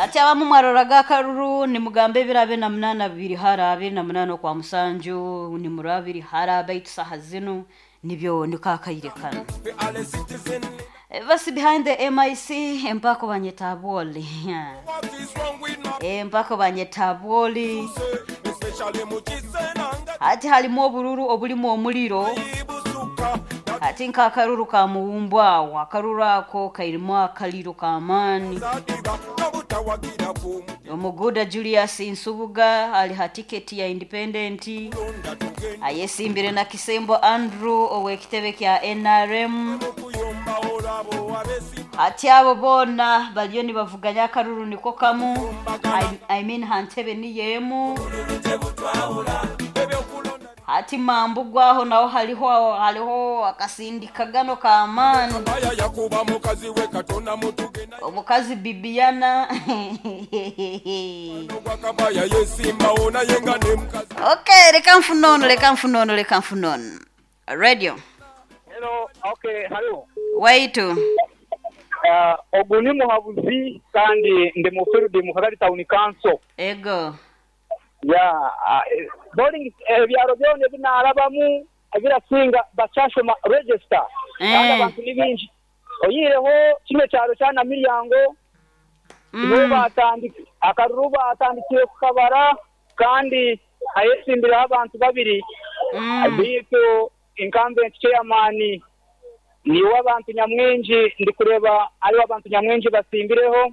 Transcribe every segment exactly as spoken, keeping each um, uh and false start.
Ati abamu mwaroraga akaruru nimugambe ebiro abiri na munaana bibiri hara abiri na munaana okwa musanju nimuraba biri hara baitu saha zinu nibyo niko akaire kano. Basi behind the M I C empako banyeta Abwoli, empako banyeta Abwoli. Ati halimu obururu obulimu omuliro, ati nk'akaruru ka muwumbu awo, akaruru ako kairimu akaliro k'amaani. Omuguda Julius Nsubuga ali ha tiketi ya independent, ayesimbire na Kisembo Andrew ow'ekitebe kya N R M. Ati abo boona baliyo nibavuganya akaruru niko kamu, I, I mean ha ntebe niyo emu. Ati mambu gwaho naho haliho haliho akasindikagano k'amaani. Omukazi Bibiana. Okay, reka nfunono, reka nfunono, reka nfunono radio. Hello, okay, hello. Waitu. Uh, ogu ni muhabuzi kandi ndi mu field mu Kagari Town Council. Ego. Ya, uh, polling ebyaro byona ebinarabamu ebirasinga bakyashoma register. Kandi Eh. abantu ni bingi. Oyireho kino kyaro kya Namiryango, nibo Mm. batandika akaruru, batandikiye kukabara kandi ayesimbiraho abantu babiri. Mm. Bitu incumbent chairman niwe abantu nyamwingi ndi kureba ariwe abantu nyamwingi basimbireho,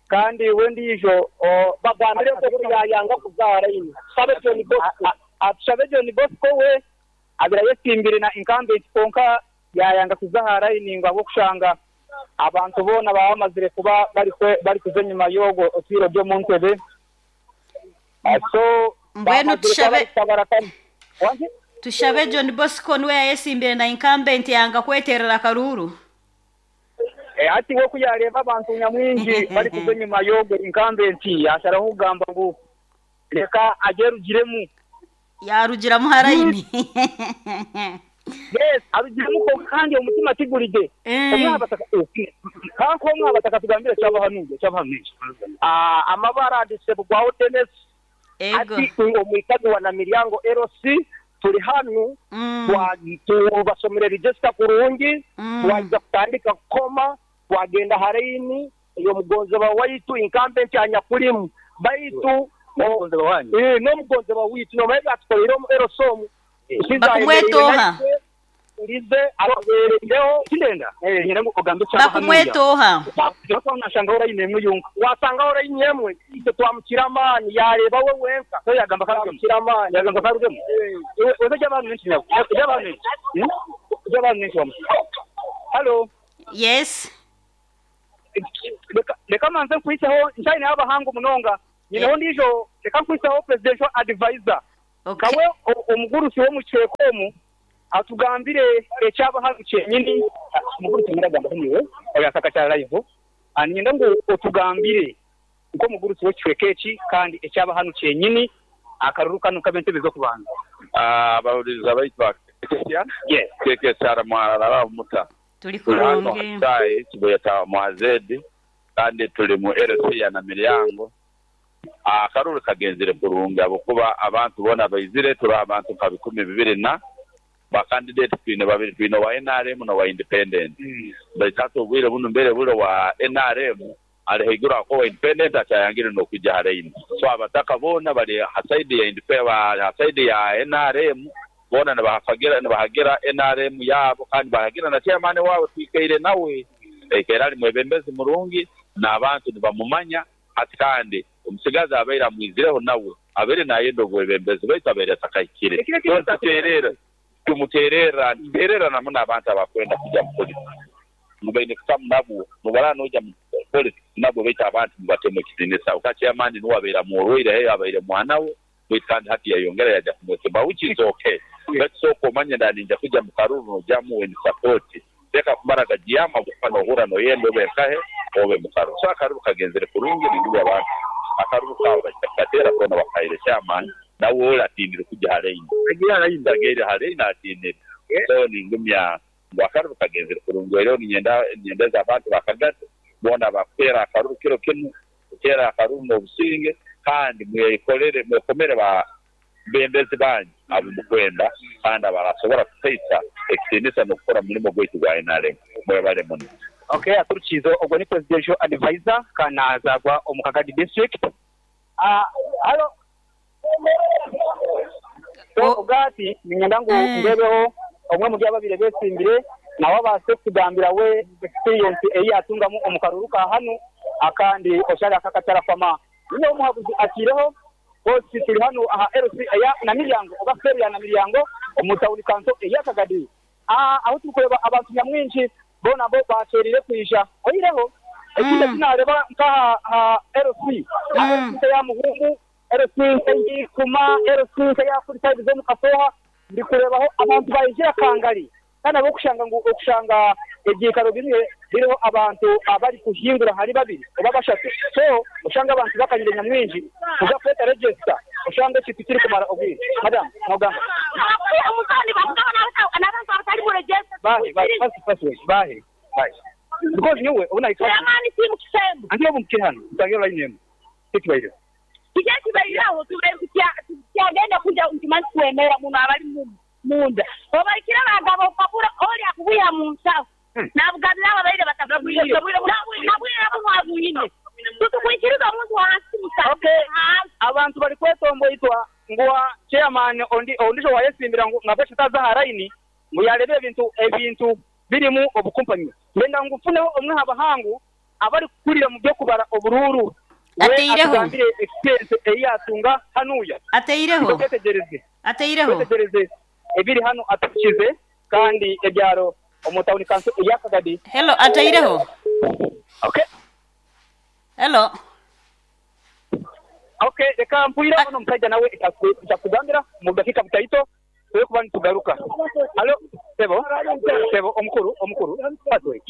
kandi we ndijo Bagambire ko yayanga kuzaara ino Sabe John Bosco. Atushabe John Bosco we abira yesimbire na incumbent, konka yayanga kuzahara iningo abo kushanga abantu bona baba bamazire kuba bari kwe- bari kuza enyuma y'ogwo otwire ryo mu ntebe. Ah, so Mbwenu bamazire kuba tushabe bari kutabara kane. Wangi? Tushabe John Bosco niwe yayesimbire na incumbent yanga kweterera akaruru. Eh, ati we kuyareba abantu nyamwingi bari kuza enyuma y'ogwo incumbent, yasharaho kugamba ngu reka agerugiremu. Yarugiramu harayini. Yes, arugiremu ko kandi omutima tiguride. Eh. Omwabataka kanko omwabataka tugambire kyabahanuye kyabahanuye. Ah, amabara andisebwaho Dennis. Ego. Ati omwikazi wa Namiryango L C, turi hanu. Mm. twa- tubasomera register kurungi. Mm. Twaza kutandika kukoma, twagenda haraini ey'omugonzebwa waitu incumbent anyakulimu, baitu N'omugonzebwa wanyu. Eh, n'omugonzebwa waitu nomaye batukolere omu L C omu Bakumwetoha. urize ababerereho. Kindenda eh nyina ngo ogambe kyabahanuye. Bakumwetoha. Nashangaho rayini emwe yonka. Wasangaho rayini emwe, itwe twamukira amaani, yareba we wenka. So yagamba karugemu. Twamukira amaani. Yagamba karugemu weze ky'abantu benshi nabo ky'abantu benshi ky'abantu benshi wamu. Hello. Yes. Reka reka manze nkwiseho nshayine y'abahanga munonga nyineho ndijo, reka nkwiseho presidential advisor. Okay. Kawe o- omugurusi wo mu kyekomu atugambire ekyabahanu kyenyini. Omugurusi muragamba niwe oyasaka kya live, anyenda ngu otugambire nk'omugurusi w'ekicweka eki kandi ekyabahanu kyenyini akaruru kano k'ebentebe z'okubanza. Abawuliriza baitu bakekesya. Yes. Kekesara mwarara muta? Tuli Tuli hano. kurungi. Hatai kibuyeta mwazedi kandi tuli mu L C ya Namiryango. Akaruru kagenzere kurungi abukuba abantu bona baizire. Turi abantu nka bikumi bibiri na ba candidate twine babiri, twine wa N R M na wa independent. Baitu hati obwire buno mbere bule wa N R M ali haiguru ako wa independent akyayangire n'okwijja haraini. So abataka boona bali ha side ya independent, ha side ya N R M, boona nibahagira nibahagira N R M yabo kandi bahagira na chairman waabo twikaire nawe ekaire ali mwebembezi murungi n'abantu nibamumanya. Hati kandi omusigazi abaire amwizireho nawe abaire nayenda obwebembezi baitu abaire atakahikire. So tuterera tumuterera ntuterera namu n'abantu abakwenda kujya mu politics mubaine kutamu nabwo nobara noja mu politics nabwo, baitu abantu mubatemu ekitinisa uka chairman niwe abaire amworweire heyo abaire mwana we, baitu kandi hati yayongera yaja kumwesemba, which is okay. Baitu sooka omanye ndaninja kuja mu karuru nojamu in support, leka kumara gajiyama kuba nohura noyenda obe nkahe obe mu karuru. So akaruru kagenzere kurungi, nindugu abantu akaruru kaabo bakateera kona bakaire chairman nawe ole atindire kuja haraini ageire haraini atindire. So ningumya ngu akaruru kagenzere kurungi, era ninyenda ninyendeza abantu bakagate. Bona bakuteera akaruru kiro kinu, kuteera akaruru n'obusinge, kandi mwekolere mwekomere ba bembezi banyu abo mukwenda kandi abarasobora kuteisa ekitiinisa n'okukora mulimo gwaitu gwa N R M. Mwebale muno. Okay, aturukizo ogwo ni presidential advisor kana azagwa omu Kagadi district. Ah, halo. So ogati ninyenda ngu ndebeho omwe mu byababire besimbire nawe abase kugambira we experience eyi atungamu omukaruru ka hanu akandi oshara akakatara fama. Niyo omuhabuzi akireho bosi tuli hano aha L C eya na miryango oba feria na miryango omutawuni kanso eya Kagadi. Ah, aho tukureba abantu nyamwinshi bona bo bacerire kwisha oyireho ekindi kinareba nka ha L C L C ya Muhungu, L C y'Ikuma, L C ya Afurika zo mu Kasoha ndikurebaho abantu bayijira kangari kana bo kushanga ngo okushanga ebyikaro bimwe biriho abantu abari kuhingura hari babiri oba bashatu. So ushanga abantu bakanyire nyamwinji uza kweta register ushanga kintu kiri kumara obwire. Madam nogamba bahe bahe fast fast bahe bahe because niwe ubona ikwa amani simu kisembo angiye bumkiri hano utagira line yemo kibaire kibaire tubaire kyagenda kuja ntimanyi kwemera muno abali mu munda obalikira abagabo papura oli akubuya mu nsawo nabugabira ababaire batabwire nabwira abo mwabuyine tutukwikiriza omuntu wansi musa. Okay, abantu bali kwetombo itwa ngwa chairman ondi ondisho wayesimbira ngabesha taza haraini ngo yarebe ebintu ebintu birimu obukumpanyi ngenda ngufuneho omwe habahangu abari kukurira mu byo kubara obururu ateireho experience eyatunga hanuya ateireho twetegereze ateireho twetegereze ebiri hano atukize kandi ebyaro omutawuni kanso eya Kagadi. Hello, ateireho. Okay, hello. Okay, reka mpwira ono musajja nawe itakugambira mu dakika butaito tuwe kuba nitugaruka. Halo, sebo sebo omukuru omukuru paswe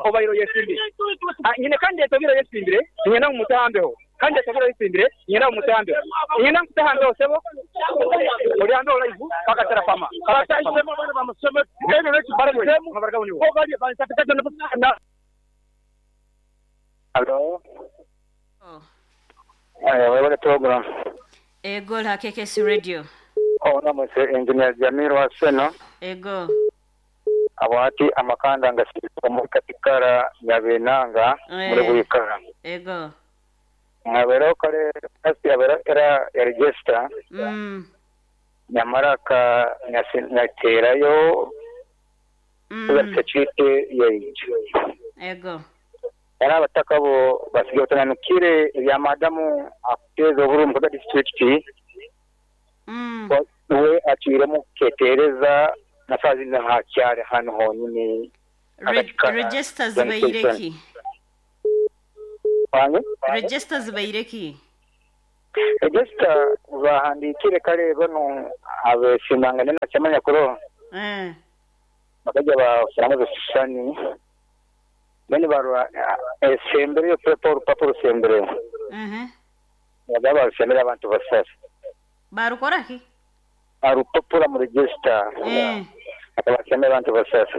obairo yesimbire. Ah, nyine kandi etobiro yesimbire nyina mumutambeho kandi etobiro yesimbire nyina mumutambeho nyina mutahambeho sebo oli ambe olaivu kakatara fama Halo. Eh, wewe program. Ego la K K C Radio. Ona mwese engineer Jamiro Aseno. Ego. Abati amakanda ngasirika muri katikara nyabenanga muri buyikara. Ego. Ngabero kare kasi abera era ya register. Mm. Nyamaraka nyaterayo. Mm. Security yeje. Ego. Era abatakabo basigaye batananukire ebya madamu akuteza oburu mu district. Mm. We aciremo ketereza nafazi na hakyare hano honyine. Register zibaireki. Wange? Register zibaireki. Register bahandikire kare bano abesimangane na chamanya kuro. Eh. Bakaja bashyiramo ibishushanyo. Bene barwa esembere yo pepa urupapuro sembere. Mhm. Bagaba sembere abantu basasa. Barukora ki? Arupapuro mu register. Eh. Abasembere abantu basasa.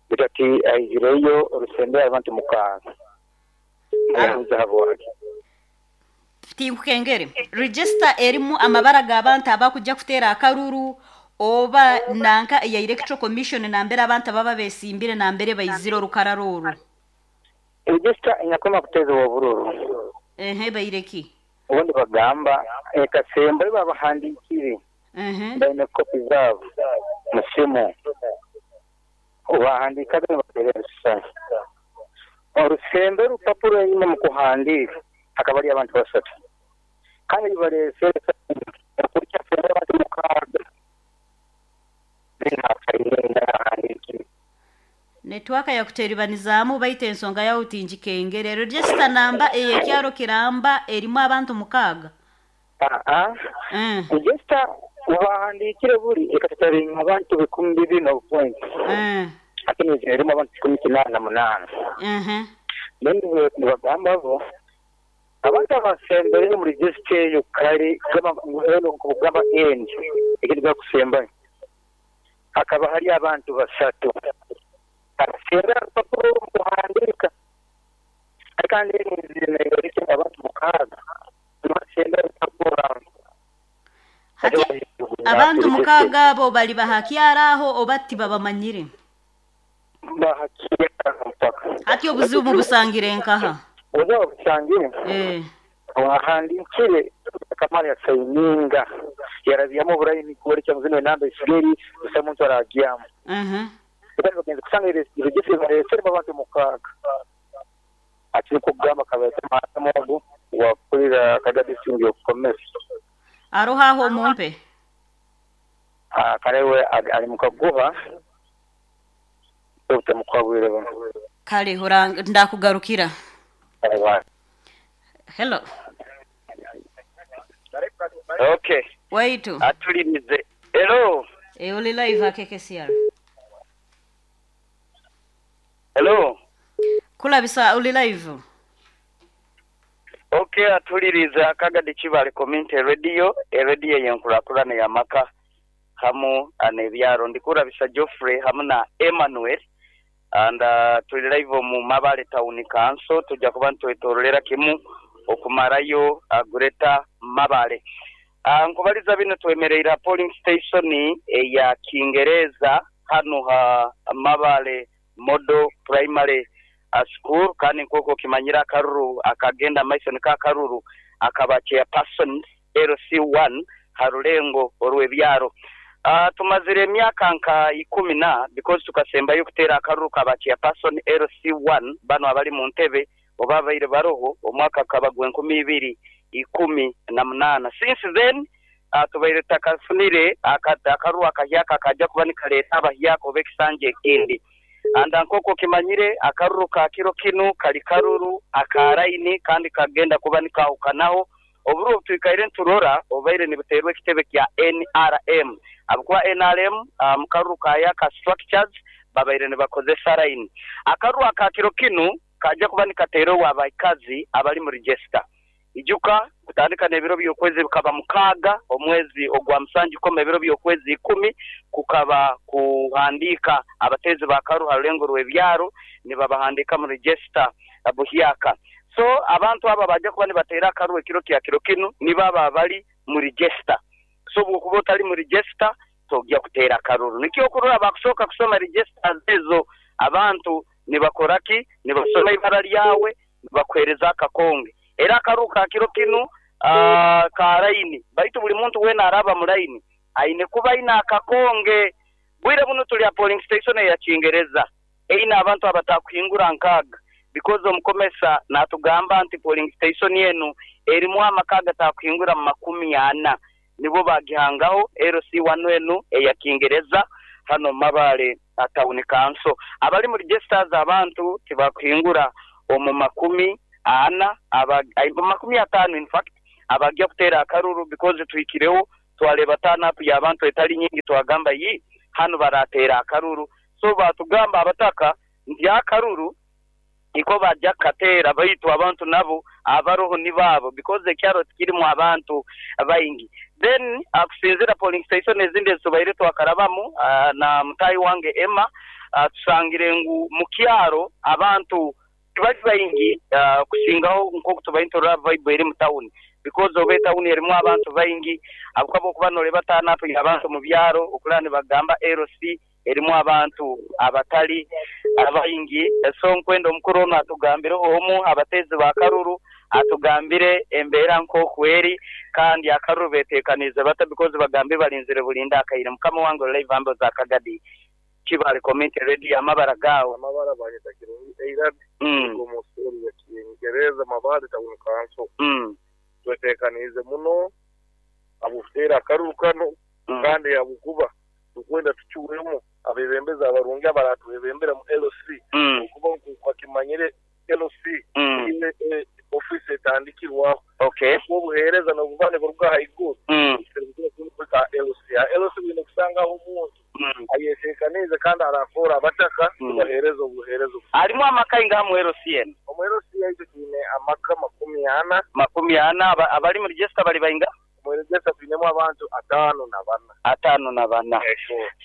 Bitati ayireyo urusembere abantu mukanga. Ahuza Tinkukengere. Register erimu amabara g'abantu abakujja kutera akaruru oba nanka ya Electoral Commission nambere abantu baba besimbire nambere bayiziro rukararuru. Register inyakoma kuteza obururu. Ehe bayireki. Ubundi bagamba ekasembe babahandikire. Mhm. Bayine kopi zabo musimu. Ubahandika bateresa. Orusembe rupapuro nyuma mu kuhandika hakaba ari abantu basatu. Kandi barese kurya sembe abantu mukaga. Network ya kuteribanizamu baite ensonga ya utinjikengere. Register namba eyekyaro kiramba erimu abantu mukaga. Ah ah. Mm. Register ubahandikire buri ekatatari abantu bikumi bibiri no point. Mm. Akini erimu abantu kumi kinana munana. Mhm. Nende bagamba bo abantu abasembere mu register yo kare gamba ngeno kugamba end ekindi bakusemba. Hakaba hari abantu basatu. Sembera rupapuro mukuhandika kandi nizimengorike abantu mukaaga sembera rupapuro. Hati abantu mukaaga abo bali bahakyara aho oba tibabamanyire? Bahakyara mpaka. Hati obuzibu busangire nkaha? Obuzibu busangire? Eh. Wahandikire kamari ya sayininga yaraziyamo burayi kuoleka muzino namba isigeri gusa muntu aragiyamu. Mhm. Kandi bagenze kusanga irigisi baresere abantu mukaaga. Ati kugamba kabete mamogo wakulira kagadi singi okomesa. Aroha aho mumpe. Ah karewe ari mukaguha utemukabwire bano. Kale hora ndakugarukira. Hello. Okay. Waitu. Atulimize. Hello. E uli live K K C R. Hello. Kulabisa uli live. Okay, atulirize Akagadi Kibale Community Radio, e radio yenkulakulana ya maka hamu anebyaro ndikurabisa Geoffrey hamu na Emmanuel and uh, tuli live mu Mabale Town Council tujja kuba ntwetorolera kimu okumarayo uh, Greater Mabale. Uh, nkubaliza bino twemereira polling station eya Kingereza hano ha Mabale Model Primary School kandi nkoko kimanyira akaruru akagenda maiso ka karuru akaba chairperson L C one harulengo orwebyaro. Uh, tumazire emyaka nka ikumi na because tukasembayo kutera akaruru kaba chairperson L C one bano abali mu ntebe oba baire baroho omwaka kabagwe enkumi ibiri ikumi na munana. Since then uh, tubaire takafunire akaruru akahyaka kajja kuba nikaleta abahyaka oba ekisanja ekindi. Anda nkoko kimanyire akaruru ka kiro kinu kali karuru akaraini kandi kagenda kuba nikahukanaho oburu tuikaire nturora obaire nibuterwe ekitebe kya N R M abukuba N R M um, karuru kaya ka structures babaire nibakozesa line. Akaruru aka kiro kinu kaja kuba nikaterwa abaikazi abali mu register ijuka kutandika nebiro by'okwezi bikaba mukaga omwezi ogwa musanju koma ebiro by'okwezi ikumi kukaba kuhandika abatezi bakaru harulengo rw'ebyaro nibabahandika mu register abuhyaka. So abantu aba baje kuba nibatera akaru ekiro kya kiro kinu nibaba bali mu register. So bwokuba otali mu register tojja kutera akaruru. Nikyo kurora bakushoka kusoma register ezo abantu nibakoraki nibasoma ibara lyawe nibakwereza akakonge. Era akaruka kiro kinu uh, ka line baitu buli muntu wena araba mu line aine kuba ina akakonge. Bwire buno tuli ya polling station ya Kingereza eina abantu abatakuhingura nkaga because omukomesa natugamba nti polling station yenu erimu amakaga takuhingura makumi ana nibo bagihangaho L C one enu eya Kingereza hano Mabale Town Council. Abali mu registers abantu tibakuhingura omu makumi ana aba makumi atano in fact abajya kutera akaruru because tuikireho twaleba tana up ya abantu etali nyingi twagamba yi hano baratera akaruru. So batugamba abataka ndi akaruru iko bajya katera baitu abantu nabo abaroho ni babo because ekyaro kirimu abantu baingi. Then akusinzira polling station ezindi ezibaire twakarabamu uh, na mutayi wange Emma uh, tusangire ngu mukyaro abantu bali baingi uh, kusingaho nko tubaintora vibe eri mu town because obe town erimu abantu baingi abukabo kuba noleba tana apo abantu mu byaro okulani bagamba L C erimu abantu abatali abaingi. So nkwenda omukuru ono atugambire omu abatezi ba karuru atugambire embeera nko kweri kandi akaruru betekanize bata because bagambe balinzire bulinda akaire. Mukama wange live ambo za Kagadi Kibale Community Radio amabara gawo amabara bageta kirungi eirad mm. Gomusori ya Kiingereza Mabale Town Council mm. twetekanize muno abufutera akaruru kano mm. kandi abukuba tukwenda tuchuwemo abebembeza abarungi abaratwebembera mu L C mm. okuba kwakimanyire L C mm. ile eh, office etandikirwaho. Okay. Obuhereza n'obuvane buruga haiguru mm. ka L C L C bine kusangaho omuntu mm. ayetekanize kandi arakora abataka mm. bahereza obuhereza alimu amaka inga mu L C N omu L C yaitu twine amaka makumi ana makumi ana abali mu register bali bainga mu register twinemu abantu atano na bana atano na bana.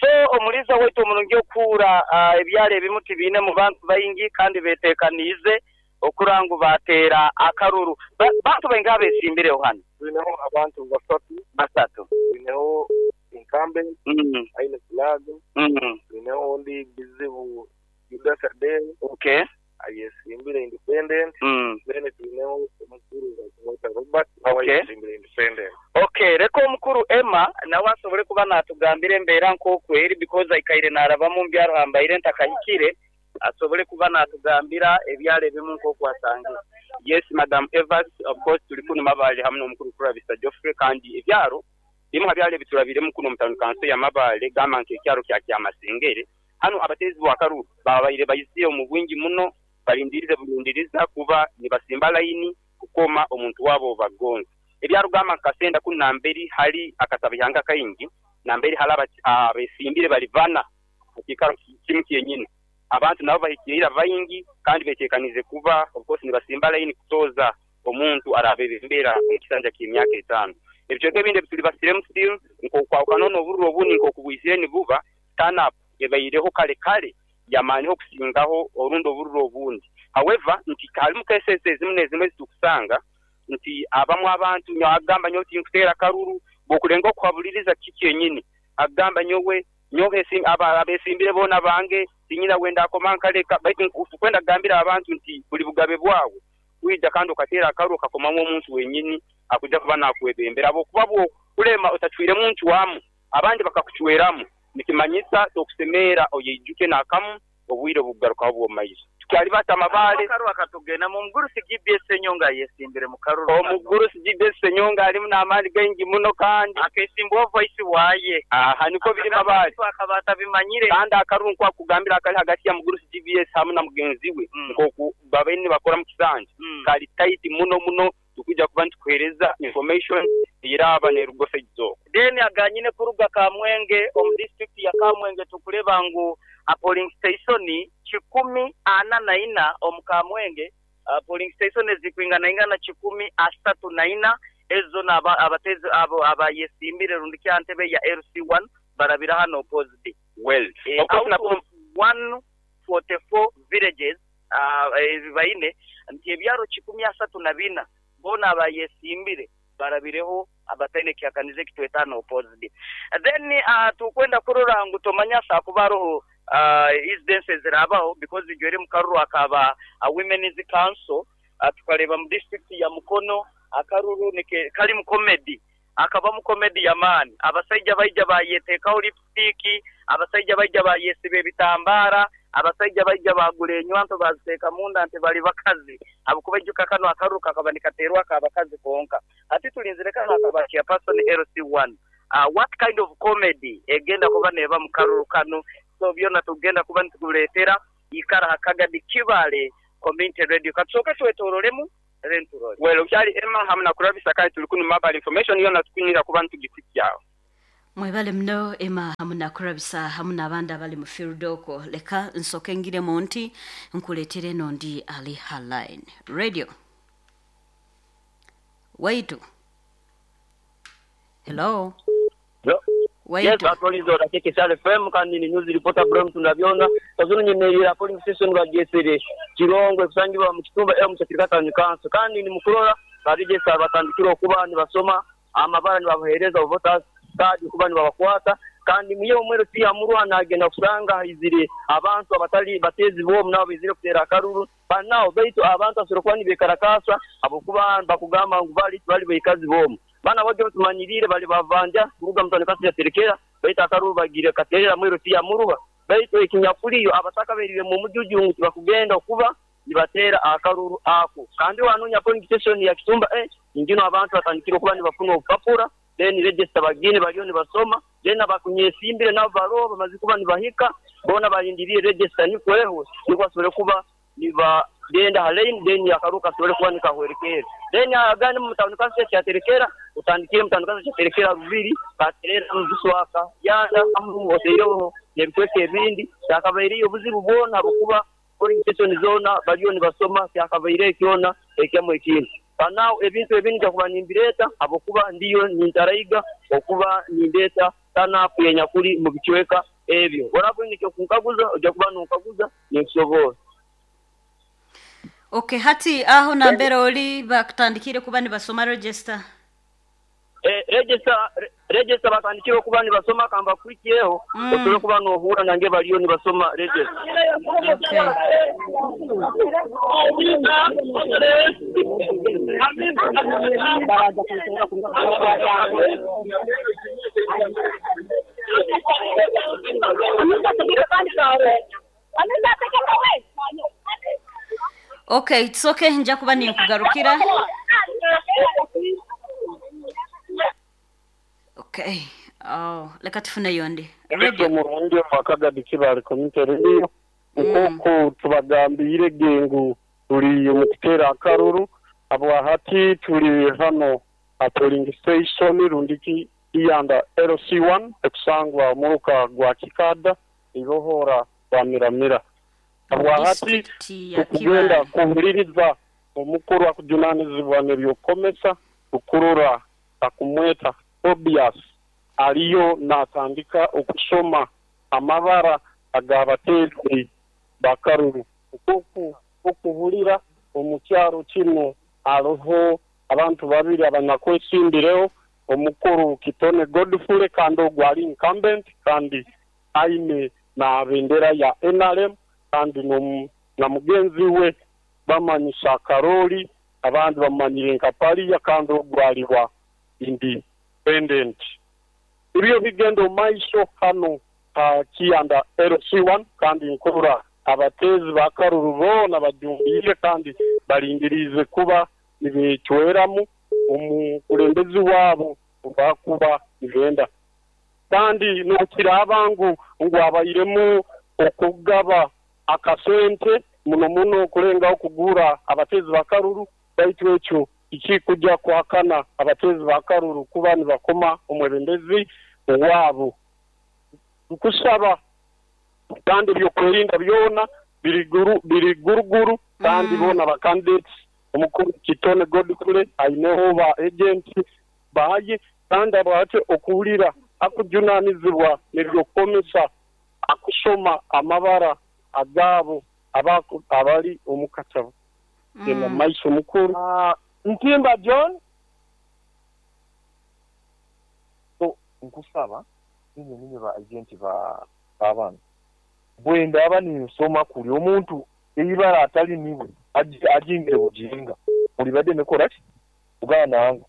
So omuliza waitu omurungi okura uh, ebyalo ebimu tibiine mu bantu baingi kandi betekaniize okurangu batera akaruru. Ba, bantu baingi abesimbireho hano. Tuineho abantu basatu. Basatu. Tuineho incumbent, mm. aine flag. Mm. Tuineho ondi bizibu Judas Adel. Okay. Ayesimbire independent. Mm. Then tuineho omukuru wa Robert. Okay. Ayesimbire independent. Okay, reko omukuru Emma nawe asobole kuba natugambira embeera nk'okweri because aikaire narabamu mbyaro hambaire ntakahikire asobole kuba natugambira ebyalo ebimu nk'okwasangire. Yes, Madam Evans, of course tuli kuno Mabale hamwe n'omukuru Kurabisa Geoffrey kandi ebyaro bimu habyalo ebiturabiremu kuno mutano kanso ya Mabale gamba nk'ekyaro kya Kyamasengere. Hano abatezi b'akaruru babaire bayisiye omu bwingi muno balindirize bulindiriza kuba nibasimba layini kukoma omuntu wabo bagonza. Ebyaro gamba nkasenda ku namberi hali akasabihanga kaingi namberi hali abesimbire balivana ekikaro kimu kyenyine. Abantu nabo bahikirira baingi kandi betekanize kuba of course nibasimba layini kutoza omuntu arabebembera mu kisanja ky'emyaka etaano. Ebicweka ebindi ebituli basiremu still nk'okwawukana n'obururu obundi nk'okubwisire nibuba turn up ebaireho kale kale yamaaniho okusingaho orundi obururu obundi. However, nti halimu cases ezimu n'ezimu ezitukusanga nti abamu abantu nyo agamba nyo tinkuteera karuru bw'okulenga okuhabuliriza kiki kyenyini agamba nyowe nyowe abesimbire boona bange tinyina wenda akoma nkaleka baitu kwenda kugambira abantu nti buli bugabe bwawe kwija kandi okateera akaruru okakomamu omuntu wenyini akuja kuba nakwebembera abokuba bwokulema otacwire muntu wamu abandi bakakucweramu nikimanyisa tokusemera oyejuke nakamu obwire obugarukaho bw'omumaiso. Tukyali bata Mabale akaruru akatugenda mu mugurusi G B S Senyonga yesimbire mu karuru. Omugurusi G B S Senyonga alimu n'amaani gaingi muno kandi akesimbwa voice waye. Aha niko biri Mabale akabata bimanyire kandi akaruru nkwakugambira akali hagati ya mugurusi G B S hamwe na mugenzi we nkoku babaine bakora mu kisanja kali tight muno muno tukuja kuba nitukuhereza information iraba nerugofe gizo. Then aganyine kuruga Kamwenge omu district ya Kamwenge tukuleba ngu a polling station kikumi ana na ina omu Kamwenge uh, polling station ezikwingana ingana kikumi asatu na ina ezo na abatezi abo abayesimbire rundi kyantebe ya L C one barabira hano opposite. Well, eh, of course out of one forty-four villages uh, baine nti ebyaro kikumi asatu na bina bona abayesimbire barabireho abataine kyakanize kitwetano opposite. Then uh, tukwenda kurora ngu tomanya sakubaroho uh, incidences zirabaho because ijwere mukaruru akaba a women's council uh, tukareba mu district ya Mukono akaruru nike kali mu comedy akaba mu comedy ya mani abasajja baija bayetekaho lipstick abasajja baija bayesibe ebitambara abasajja baija bagula enywanto baziteeka munda nti bali bakazi abukubajuka kano akaruru kakaba nikaterwa akabakazi konka ati tulinzire kano akaba chairperson L C one uh, what kind of comedy egenda kuba neba mu karuru kano so byona tugenda kuba nitukuleetera ikara hakagadi Kibale Community Radio katsoka twetorolemu renturole. Well, ukyali Emma hamwe na Kurabisa kandi tuli kuno Mabale information yona tukunyira kuba ntugitikyao. Mwebale mno Emma hamwe na Kurabisa hamwe n'abandi abali mu field oko leka nsoke ngiremu nti nkuletere nondi ali haline radio waitu. Hello. Yes, atolizo rakeke sale F M kandi ni news reporter Bram tunabyona kazunu nyemerera polling station bagesere Kirongwe kusangibwa mu kitumba M kyakirikata kanso kandi ni mukurora barigesa batandikira okuba ni basoma amabara ni babahereza voters card kuba ni babakwata kandi muye omwero ti amurwa nagenda kusanga izire abantu abatali batezi bo nabo bizire kutera akaruru banao baitu abantu asorokwa ni bekarakasa abokuba bakugamba ngu bali bali bekazi bomu bana baje tumanyirire bali bavanja kuruga mutano kasi ya terekera baitu akaruru bagire katerera mwero ti amuruha baitu ekinyakuliyo abataka berire mu mujujungu bakugenda okuba nibatera akaruru ako kandi wanunya polling station ya Kitumba eh ingino abantu batandikira okuba nibafuna obupapura then register bagine baliyo nibasoma then abakunyesimbire nabo baro bamaze kuba nibahika bona balindiriye register nikweho niko asubire kuba niba genda halein then yakaruka asubire kuba nikahwerekera then agane mu mutano kasi cyaterekera utandikire mutano kasi cyaterekera rubiri katerera muzuswaka yanda amuoteyo nebikweke ebindi yakabairiyo obuzibu bona bukuba polling station zona baliyo nibasoma kyakabaire kyona ekyamwe ekindi Panao ebintu ebindi jakuba nimbireta abokuba ndiyo nintaraiga okuba nindeta tanapu yenyakuli mu bicweka ebyo. Orabonye kunkaguza ojja kuba nonkaguza nenkusobola. Okay, hati aho nambere oli bakutandikire kuba nibasoma register. Eh, register register batandikire kuba nibasoma kamba kwikieho mm. Otule kuba nohura nange baliyo nibasoma register. Okay. Okay, it's okay, nja kuba ninkugarukira. Okay. Oh, leka tufune yondi. Radio murundi wakagadi Kibale Community Radio. Nkoko tubagambire gengu tuli mu kutera akaruru abo hati tuli hano a polling station rundiki iyanda L C one ekusangwa muruka gwa Kikada ibohora wa Miramira. Abo hati tukugenda kuhuliriza omukuru akujunanizibwa n'ebyokomesa ukurura akumweta Tobias aliyo natandika okusoma amabara agabatezi bakaruru okuku okuhulira omukyaro kino aroho abantu babiri abanakwesimbireho omukuru Kitone Godfrey kandi ogwali incumbent kandi aine na bendera ya N R M kandi na mugenzi we bamanyisa Karoli abandi bamanyire nka Pariya kandi ogwali wa independent. Ibyo bigendo maiso hano uh, Kiyanda L C one kandi nkurura abatezi bakaruru bona bajumbire kandi balindirize kuba nibecweramu omukulembezi wabo bakuba nibenda kandi nokirabangu ngu abayiremu okugaba akasente muno muno kulenga okugura abatezi bakaruru baitu ekyo ikikujja kuhakana abatezi bakaruru kuba nibakoma omwebembezi wabo nkusaba kandi byokwerinda byona biriguru biriguruguru kandi bona ba candidates omukuru Kitone Godfrey aineho ba agent baye kandi abate okuwulira akujunanizibwa n'ebyokomesa akusoma amabara agabo abako abali omukatabo genda mm. Maiso mukuru uh, Ntimba John so nkusaba ninye ninye ba agent ba abantu bwenda aba ninsoma kuli omuntu eyibara atali niwe ajingire bujinga ulibadde nekola ki ugana wangu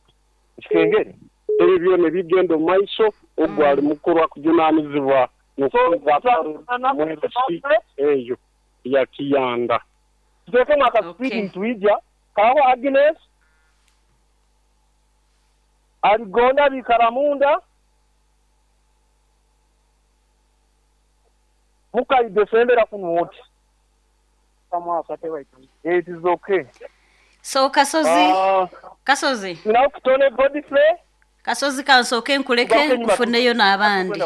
ekikengere ebyo ne bigendo maiso ogwali mukuru akujunanizibwa eyo ya Kiyanda tuteeke mwaka speeding tuija kawa Agnes aligonda bikaramunda muka idefendera kunuoti it is okay. So Kasozi uh, Kasozi now Kitone Godfrey Kasozi kansoke nkuleke nkufuneyo n'abandi.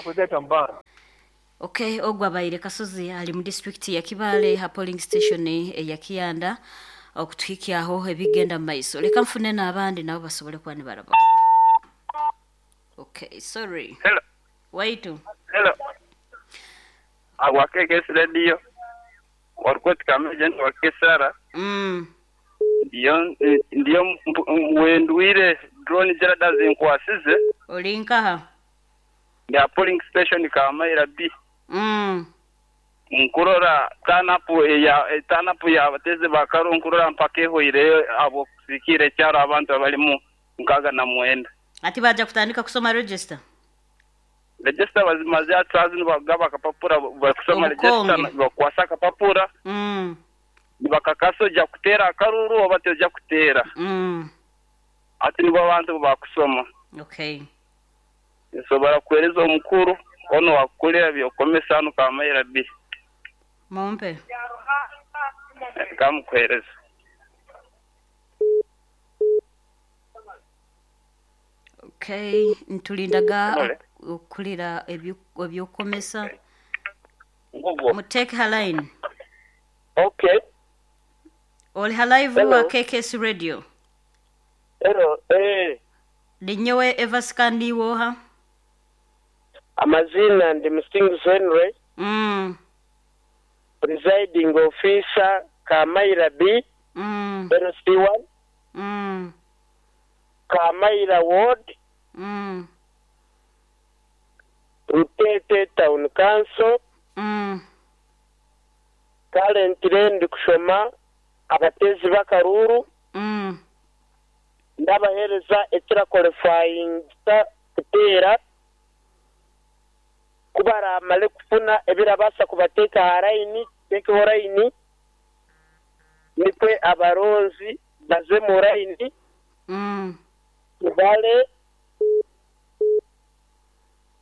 Okay, ogwa baire Kasozi ali mu district ya Kibale ha polling station ya Kiyanda okutuhikyaho ebigenda maiso. Leka mfune n'abandi nabo basobole kuba nibaraba. Okay, sorry. Hello. Waitu. Hello. Agwa K K S Radio. Warkot kama agent wa Kesara. Mm. Ndiyo ndiyo wendwire drone jarada zinkwasize. Olinkaha. Ya polling station kama ira B. Mm. Nkurora tanapu ya tanapu ya bateze bakaro nkurora mpaka ehoire abo kusikire cyaro abantu abalimu nkaga na mwenda. Ati baja kutandika kusoma register. Register bazimaze atsazi nibagaba kapapura bakusoma register bakwasa kapapura. Mm. Bakakaso ja kutera akaruru oba ja kutera. Mm. Ati nibo abantu bakusoma. Okay. So barakuhereza omukuru ono wakulira byokomesa hano kamaira B. Mompe. Kamukuhereza. Okay, ntulindaga okulira ebyokomesa. Muteke haline. Okay. Oli halive wa K K S Radio. Hello, eh. Linyewe Evaskandi woha. Amazina ndi Musinguzi Henry. Mm. Presiding officer Kamaira B. Mm. L C one. Mm. Kamaira Ward. Mm. Rutete Town Council. Mm. Currently ndi kushoma abatezi b'akaruru. Mm. Ndabahereza ekira qualifying kuteera kubaramale kufuna ebirabasa kubateeka ha line tekeho line nikwe abaronzi baze mu line. Mm. Tubale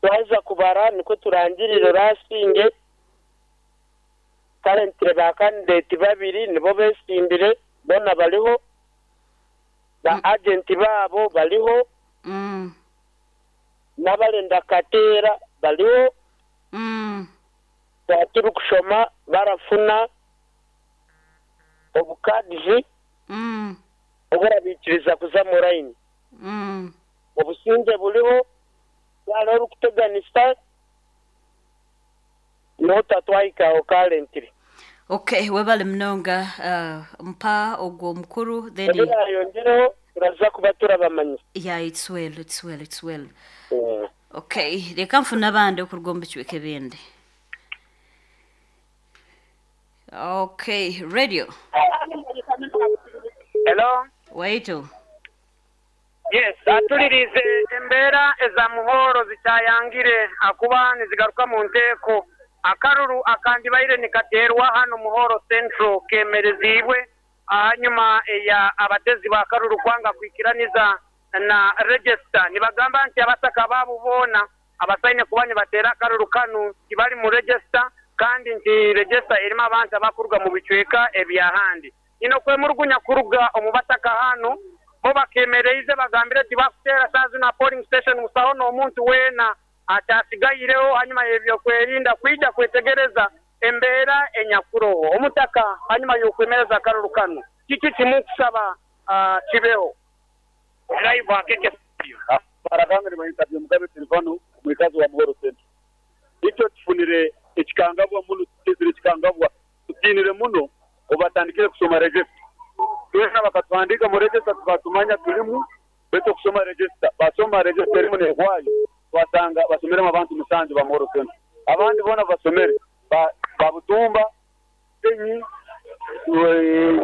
twaza kubara niko turangirire rasinge. Currently ba candidate babiri nibo besimbire bona baliho, ba agent babo baliho. Mm. N'abalenda kateera baliho. Mm. Batiri kushoma barafuna obukadizi. Mm. Oburabikiriza kuza mu line. Mm. Obusinge buliho yalo kuteganisa nota twaika currently. Okay, webale mnonga uh, mpa ogwo mukuru then yongereho turaza kuba turabamanya. Yeah, it's well, it's well, it's well. Mm. Okay, reka mfuna abandi okurugomba icweke bende. Okay, radio. Hello. Waitu. Yes, atulirize embeera eza Muhoro zikyayangire akuba nizigaruka mu nteeko. Akaruru akandibaire nikaterwa hano Muhoro Central kemerezibwe hanyuma ya abatezi ba karuru kwanga kwikiraniza na register. Nibagamba nti abataka babu bona abasaine kuba nibatera akaruru kanu kibali mu register, kandi nti register erimo abantu abakuruga mu bicweka ebyahandi. Ino kwemurugunya kuruga omubataka hano bo bakemereize bagambire nti bakutera sazi na polling station musaho n'omuntu wena atasigayireho hanyuma y'ebyo kwerinda kwija kwetegereza embeera enyakuroho omutaka hanyuma y'okwemereza akaruru kano kiki kimukusaba uh, kibeho live akeke barakangire bayita Mugabe Silvano mwikazi wa Muhoro Center. Icyo tufunire ekikangabwa muno tutizire ekikangabwa tutinire muno obatandikire kusoma register. Twena bakatwandika mu register tukatumanya tulimu beto kusoma register basoma register erimu nehwayo wasanga basomere abantu musanju ba Muhoro Center. Abandi bona basomere ba babutumba enyi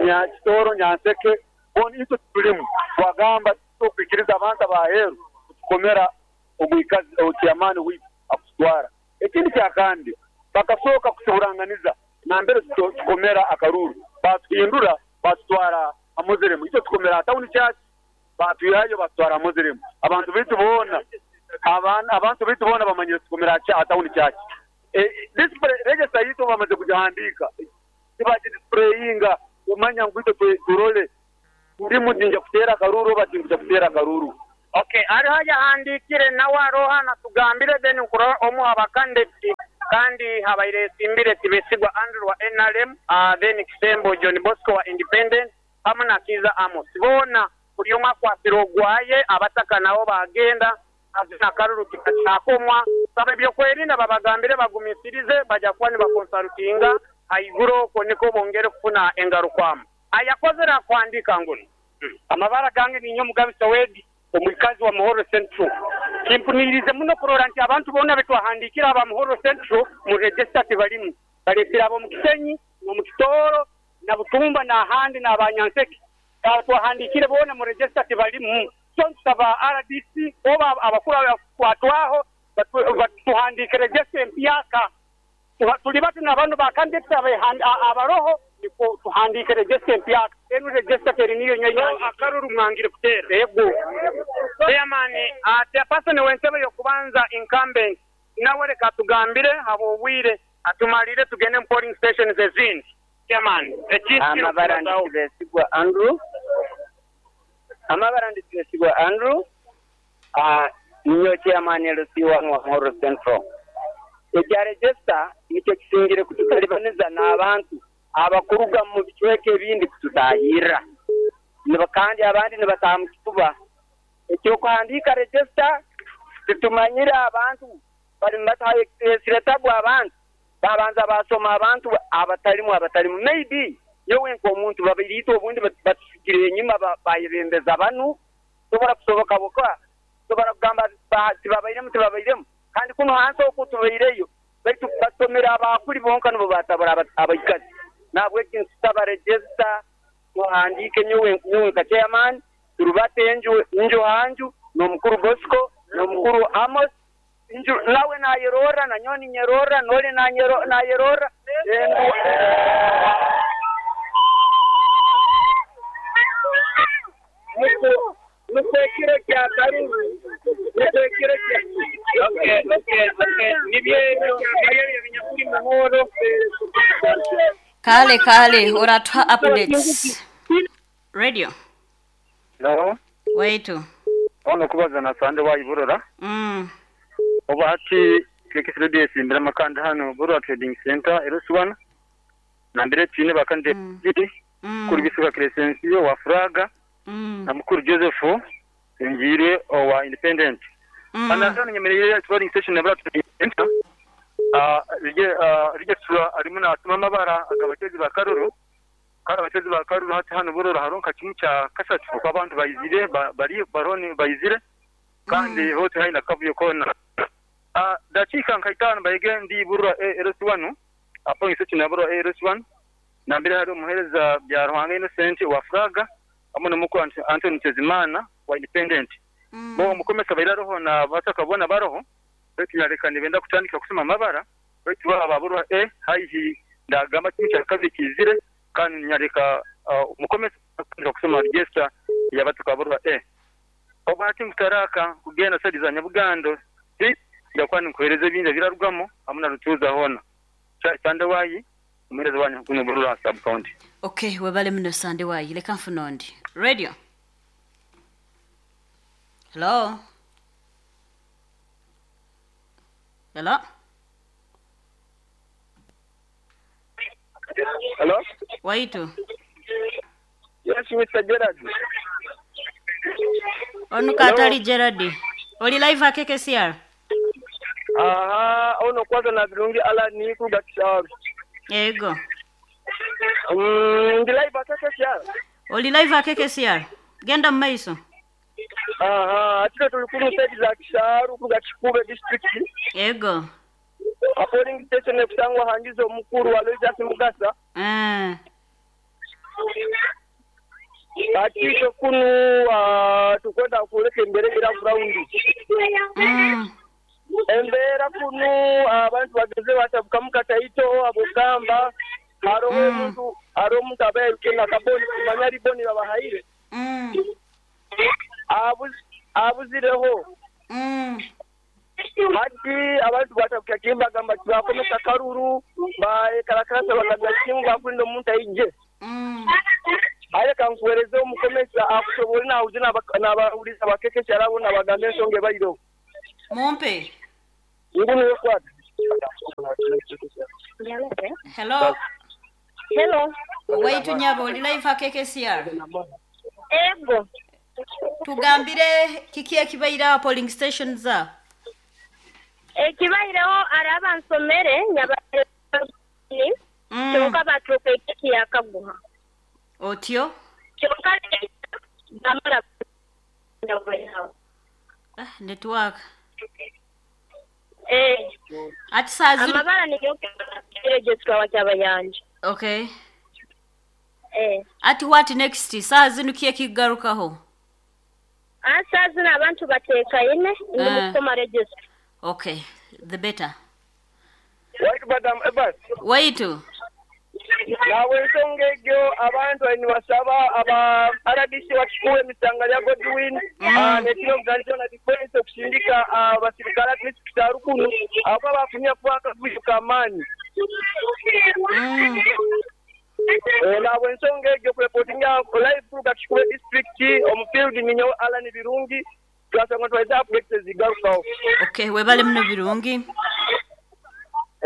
Nyakitoro Nyanseke boni icyo tulimu wagamba tukwikiriza abantu abaheru tukomera omwikazi okyamani witu akutwara. Ekindi kyakandi bakasoka kutuburanganiza nambere tukomera akaruru batuhindura batutwara amuziremu icyo tukomera town church batuyayo batutwara amuziremu abantu bitu bona abantu abantu bitu bona bamanyire tukomera cha town church. Eh, this register yito bamaze kujahandika tibaje displayinga umanya ngwito turole ndi mudinja kutera karuru batinja kutera karuru. Okay, ari haja handikire nawe aroha natugambire then nkuro omu abakandidate kandi habaire simbire tibesigwa Andrew wa N R M, uh, then Kisembo John Bosco wa Independent hamwe na Kiza Amos. Bona buri umwe akwasira ogwaye abataka nabo bagenda azina karuru kikachakomwa sabe byo kwerinda babagambire bagumisirize bajya kuba nibakonsultinga haiguro ko niko bongere kufuna engarukwamu. Ayakozera kwandika nguno. Amabara gange ni nyo Mugabe Sawedi omwikazi wa Muhoro Central. Kimpunirize muno kurora nti abantu bona betwahandikira aba Muhoro Central mu register tibalimu. Balesira abo mu Kisenyi, mu Kitoro, na Butumba na handi na Abanyanseke. Twahandikire bona mu register tibalimu. So nsaba R D C oba abakuru kwatwaho batuhandike register empyaka. Tuli batu n'abantu bakanditse abaroho niko tuhandike register empyaka. Enu register teri niyo nyenye akaruru mwangire kutera. Yego. Chairman, ate person wentebe yokubanza incumbent nawe reka tugambire habo bwire atumalire tugende mu polling stations ezindi. Chairman, amabara nditsigwa Andrew. Amabara nditsigwa Andrew. Ah, niyo chairman L C one wa Muhoro Central. Ekya register nicyo kisingire kututalibaniza n'abantu abakuruga mu bicweke ebindi kututahirra. Nibakandi abandi nibatamu kituba. Ekyo kuhandika register titumanyira abantu Bali batahesire tabu abantu babanza basoma abantu abatalimu abatalimu maybe yowe nkomuntu babirito obundi batusigire enyuma bayebembeza banu tobora kusoboka boka tobora kugamba tibabairemu tibabairemu kandi kuno hansi okutubaireyo baitu basomera abakuli bonka nibo batabara abaikazi nabwe kinsaba register tuhandike nyowe nyowe nka chairman turubate enju nju hanju n'omukuru Bosco n'omukuru Amos nju nawe nayerora na nyoni nyerora nole nanyero nayerora nukwekiro kya karuru nukwekiro kya okay okay okay nibyo ebyo binyakuri muhoro kale kale oratwa updates radio no waitu ono kubaza na sande wayiburora mm oba hati K K S Radio simbira makanda hano Burora Trading Center eruswana nambere twine bakande mm. Kuri bisuka Crescencio wa Fraga mm. na mukuru Joseph Ngire wa Independent mm. Ana nyemereye trading station na Burora Trading Center ah rije rije sura arimo natuma amabara agabatezi ba Karuru kandi abatezi ba Karuru hati hano Burora haronka kimwe cya kasatu kuko abantu bayizire bari baroni bayizire kandi hose haina kavuyo kona ah dakika nkaitano bayige ndi Burora R S one apo ngiseti na Burora R S one nambere hari umuhereza bya Ruhanga Innocent wa Fraga hamwe n'umukuru Anthony Tezimana wa Independent mm. Bo mukomesa bayira roho na batakabona baroho betu benda kutandika kusoma amabara betu baba Burora e haihi ndagamba kimwe cya kabiri kizire kandi nyareka umukomesa uh, kusoma register yabatuka Burora e obati mutaraka kugenda sadiza Nyabugando ndakwani nkohereze binja birarugamo amuna rutuza hona sande wayi umuhereza wanyu kuno Burora sub county. Okay, webale muno sande wayi leka mfunondi radio. Hello. Hello. Hello. Waitu. Yes, Mister Gerard. Onu katali Gerard. Oli live a K K C R. Aha, ono kwanza na birungi ala ni kugatisharu. Yego. Mm, ndi live a K K C R. Oli live a K K C R. Genda maiso. Aha, atiko tulikuru side za Kisharu kugachikube district. Yego. A polling station ekusangwa hangizo mukuru wa Loisa Mugasa. Eh. Atiko kunu uh, tukwenda kuleke mbere ira ground. Mm. Embera kunu abantu bageze batabuka mukataito abugamba haro omuntu haro omuntu abaye kena kaboni kumanya riboni babahaire. Mm. Abuz abuzireho. Mm. Hati abantu batabuka kimba gamba bakomesa karuru ba karakarasa bagabya kimu bakulindo omuntu aije. Mm. Aye kankuwereze omukomesa akusobole na uzina n'abawuliza bakekesha arabo n'abagambe ensonga ebairo. Mumpe. Ngunu yokwata. Hello. Hello. Waitu nyabo oli live a K K C R. Ego. Tugambire kiki ekibaira polling station za? Ekibaireho araba nsomere nyabare ni kyonka batuuka ekiki yakaguha. Otyo? Kyonka namara Ah, network. Eh. Ati saa zino amabara niyo register wa kyabayanja. Okay. Eh. Ati what next? Saa zino kiye kigarukaho? Ah, saa zino abantu bateeka ine ndi kusoma register. Okay, the better. Wait, madam Ebas. Wait. Nawe ensonga egyo abantu nibasaba aba R D C bakikuwe emitanga lya Godwin nekino mugandikyo na defense okusindika abasirikale at least kukyarukunu abo bafunye kuba akavuyo k'amaanyi. Nawe ensonga egyo kureportinga live kuruga Kikuube district omu field ninyo Alan Birungi twasanga twaiza updates ezigarukaho. Okay, webale muno Birungi.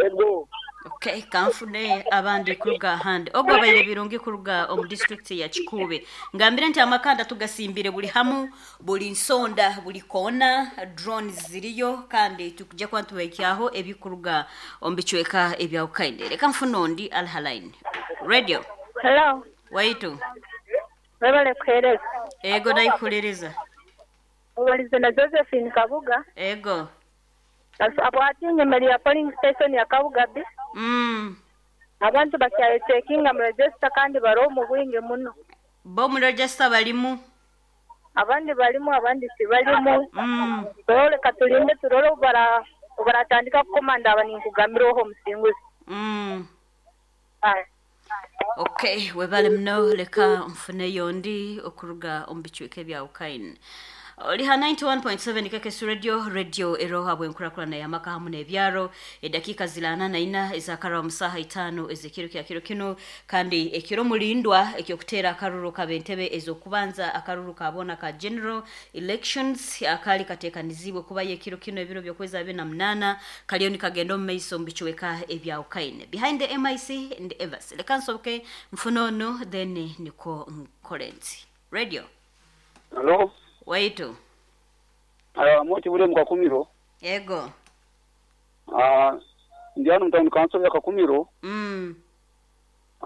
Ego. Okay, kanfune abandi kuruga handi ogwo baire birungi kuruga omu district ya Kikuube. Ngambire nti amakanda tugasimbire buli hamu, buli nsonda, buli kona, drones ziriyo kandi tukujja kuba tubaikyaho ebikuruga omu bicweka ebya Ukainde. Reka nfune ondi alhalaini. Radio. Hello. Waitu. Webale kuhereza. Ego ndaikuliriza. Obalize na Josephine Kabuga. Ego. Abwati nyemeri ya polling station ya Kabuga bi. Mm. Abantu bakyaye checkinga mu register kandi baro mu bwingi muno. Bo mu register balimu. Abandi balimu abandi si balimu. Mm. Turole katulinde turole bara baratandika kukomanda abaninkugamira oho musinguzi. Mm. Aye. Okay, webale mno leka mfune yondi okuruga omu bicweka ebya Ukaine. Oliha ninety-one point seven K K S Radio, radio eroha bwenkurakurana ya maka hamu n'ebyaro, edakika zilana na ina ezakara omusaha itano ezekiro kya kiro kino kandi ekiro mulindwa ekyokutera akaruru kabentebe ezokubanza akaruru kabona ka general elections akali katekanizibwe kuba yekiro kino ebiro byokweza abiri na munana kaliyo nikagenda omu maiso mu bicweka ebya Ukaine. Behind the M I C and Evers. Leka nsoboke mfunono then niko nkorenzi. Radio. Hello. Waitu. Ah, moti bule mkakumiro. Ego. Ah, ndiano mtown council ya Kakumiro. Mm.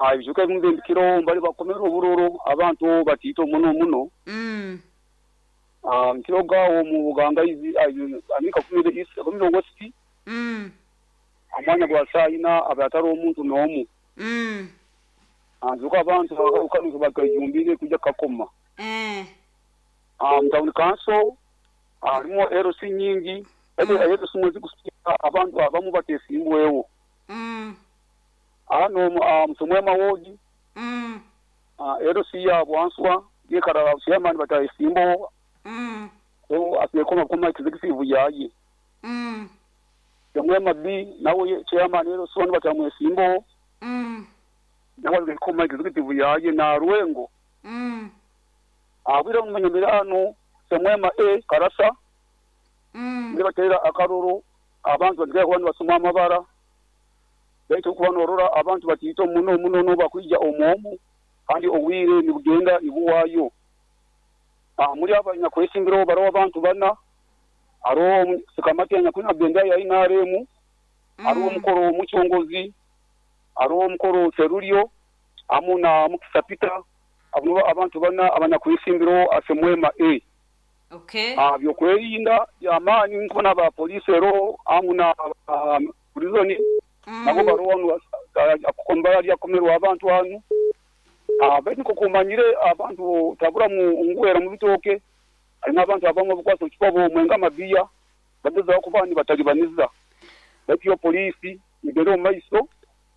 Ah, ibijuka bimwe mbali bakomero obururu abantu batito muno muno. Mm. Ah, mkiroga wo mu Buganga izi ami Kakumiro East, Kakumiro West. Mm. Amanya gwa sayina abataro omuntu nomu. Mm. Ah, zuka abantu ukanuka bakajumbire kujja kakoma. Eh. Um, town council harimo L C nyingi ebe mm. L C mwezi kusika abantu abamu batesimbwewo mm. ano um, tumwema wodi mm. uh, L C ya bwanswa yekara chairman batasimbo mm. o asiyekoma kuma executive yaye mm. tumwema B nawe chairman L C wanu batamwesimbo mm. nawe koma executive yaye na Rwengo mm. Abira munyamirano semwema E Karasa mm nibatera akaruru abantu bagiye kubana basoma amabara baitu kubanorora abantu batito muno muno no bakwija omuomu kandi owire ni bugenda ibuwayo ah muri abanya kwesimbiro baro abantu bana aro sikamati anya benda ya N R M mm. aro omukoro omuchongozi aro omukoro Serulio amuna mukisapita abo abantu bana abanyakwisimbiro asemwema E. Okay. Ah byokwerinda yamani nkona ba police ero amuna um, prison mm. nabo barowanu akombara lyakomerwa abantu hanu ah beti kokumanyire abantu tabura mu ngwera mu bitoke ari abantu abamwe bukwaso kipabo mwenga mabiya bageza kubani batalibaniza bati yo police ibero maiso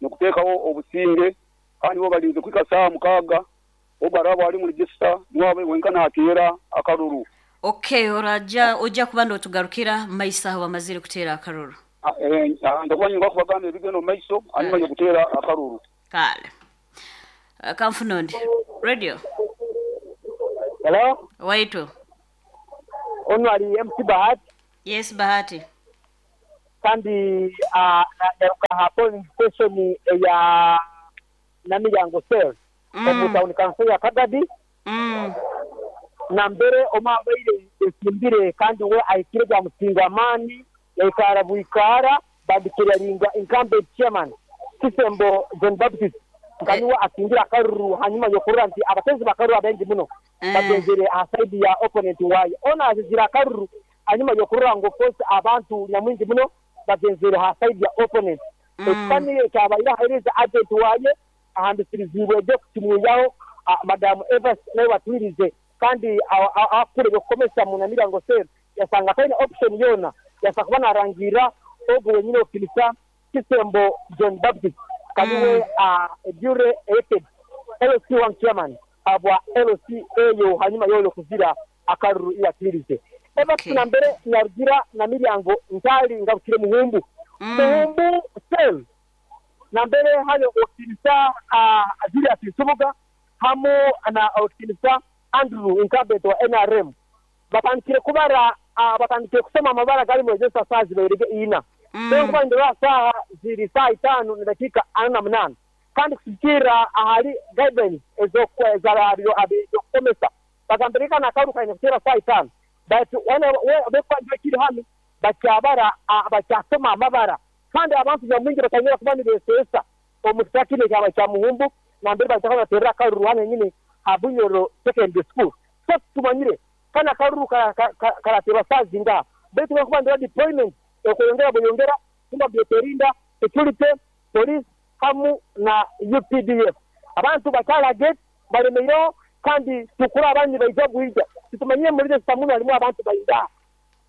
nokutekawo obusinge kandi bo balinze kwika saa mukaga obarabo ali mu register niwabe wenkana atera akaruru. Okay, oraja oja kubando tugarukira maisa wamazire kutera akaruru. Eh ndakuba nyinga kubagamba ebigeno maiso anyuma yo kutera akaruru. Kale. Uh, Kamfunondi. Radio. Hello? Waitu. Ono ali M C Bahati. Yes, Bahati. Kandi uh, na ha polling station ya Namiyango cell. Mm. Omu town council ya Kagadi. Mm. Na mbere omabaire esimbire kandi we aikire gwa musinga amani yaikara buikara bandikira ringa incumbent chairman Kisembo John Baptist kaniwa asingira akaruru hanyuma yokurura nti abatezi bakaruru abengi muno mm. bagenzere aside ya opponent wayo ona azira akaruru hanyuma yokurura ngo force abantu nyamwingi muno bagenzere aside ya opponent mm. ekani cyabaira hereza agent waye ahandisirizibwe byo kutimuyaho madam Evans nawe batwirize kandi akure gukomesa mu Namirango cell yasanga kaina option yona yasa kuba narangira ogo wenyine okilisa Kisembo John Baptist kaniwe mm. uh, dure elected L C one chairman abwa L C eyo hanyuma yolo kuzira akaruru iyatirize eba okay. Tuna mbere nyarugira na Miryango ntali ngabukire muhumbu mm. muhumbu cell na mbere hayo okilisa uh, Julius Nsubuga hamu na okilisa Andrew incumbent wa N R M batandikire kubara uh, batandikire kusoma amabara gali mu register sazi bairege ina Senkuba ndora saha ziri saa itano na dakika ana na munana kandi kusikira ahali guidelines ez'okwezarabyo abeyokomesa bagambirika na karuka inakutera saa itano but wana bekwa kiri hano bakyabara bakyasoma amabara kandi abantu byamungi batanyira kuba nibesesa omutakine kyaba kya muhumbu nambere bataka batera karuru hano nyine Habunyoro secondary school. So tumanyire kana karuru karateba saa zinga betu bakuba ndora deployment okoyongera boyongera kumba byeterinda security police hamu na U P D F abantu bakala gate baremeyo kandi tukura abandi baija guhija tutumanyire muri sitamu harimo abantu bainda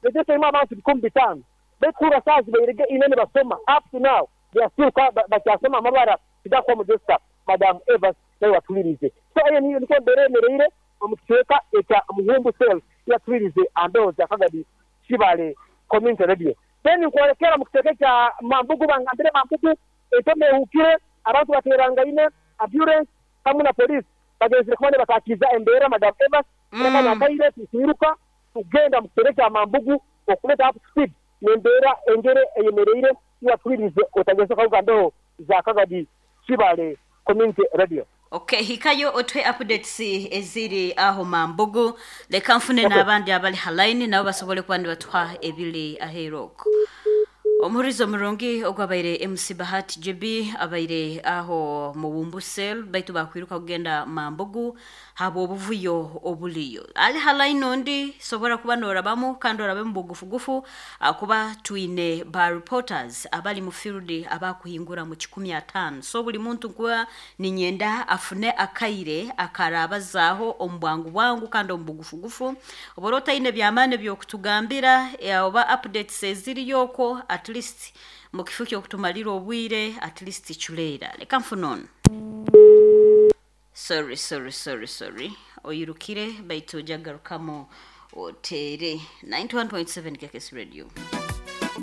ndetse harimo abantu bikumi bitano bekura sazi bayirege inene basoma up to now they are still bakyasoma amabara kidakwa mu desta Madam Evans nayo watulirize. So ayo niyo niko mberemereire omukicweka ekya Muhumbu cell yatulirize ambeho za Kagadi Kibale community radio. Then nkwolekera mu kicweka kya Mambugu bangambire Mambugu etomehukire abantu baterangaine ambulance hamwe na police bagenzire kubone bakakiza embera Madam Evans mm. Nakaire tuiruka tugenda mu kicweka kya Mambugu okuleta up speed nembera engere eyemereire yatulirize otageze kagambeho za Kagadi Kibale community radio. Okay, hikayo otwe updates eziri aho Mambugu leka mfune okay. N'abandi abali halaini nabo basobole kuba nibatuha ebili aheroko. Omuhurizo murungi ogwabaire M C Bahati J B abaire aho mu Cell baitu bakwiruka kugenda Mambugu habo obuvuyo obuliyo. Ali halaini ondi sobora kuba norabamu kandi orabe mu bugufugufu akuba tuine ba reporters abali mu field abakuhingura mu kikumi atano. So buli muntu kuba ninyenda afune akaire akarabazaho ombwangu bwangu kandi omubugufugufu. Oborota ine byamane byokutugambira oba updates eziriyoko at least mukifuki okutumalira obwire at least chulera leka mfunono. Sorry sorry sorry sorry oyirukire baitu jagarukamo otere ninety-one point seven K K S Radio.